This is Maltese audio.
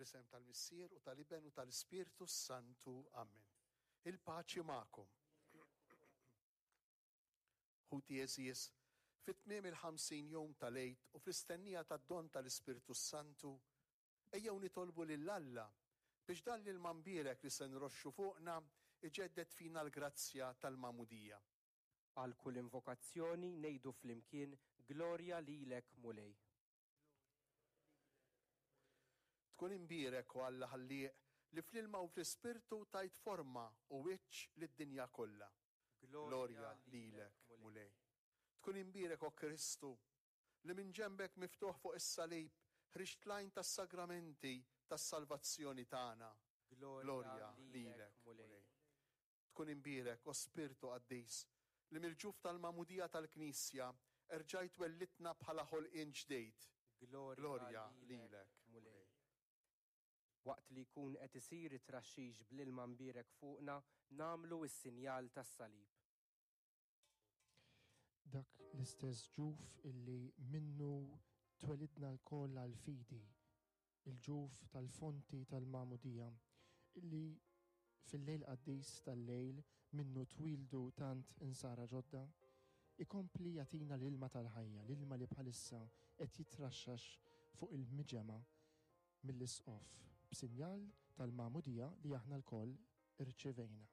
Fl-isem tal-Missier u tal-Iben u tal-Ispirtu s-Santu. Amen. Il-paċi magħkom. Ħuti għeżież, fi tmiem il-50 jum tal-Għid u fl-istennija tad-don tal-Ispirtu s-Santu, ejjew nitolbu lil Alla biex dan l-ilma mbierek li se nroxxu fuqna iġedded fina l-grazzja tal-magħmudija. Għal kull invokazzjoni ngħidu flimkien Glorja lilek Mulej. Tkun imbierek, o Alla Ħallieq, li fl-ilma u fl-Ispirtu tajt forma u wiċċ lid-dinja kollha. Glorja lilek, Mulej. Tkun imbierek, o Kristu, li minn ġenbek miftuħ fuq is-salib ħriġt l-għajn tas-sagramenti tas-salvazzjoni tagħna. Glorja lilek, Mulej. Tkun imbierek, o Spirtu Qaddis, li mill-ġuf tal-magħmudija tal-Knisja erġajt wellidtna bħala ħolqien ġdid. Glorja lilek, Mulej. Waqt li jkun qed isir it-traxxix bl-ilma mbierek fuqna, nagħmlu s-sinjal tas-salib. Dak l-istess ġuf illi minnu twelidna lkoll għall-fidi, il-ġuf tal-fonti tal-magħmudija, illi fil-lejl qaddis tal-lejl minnu twieldu tant insara ġodda, ikompli jagħtina l-ilma tal-ħajja, l-ilma li bħalissa qed jitraxxax fuq il-miġemgħa mill-Isqof b'sinjal tal-magħmudija li aħna lkoll irċivejna.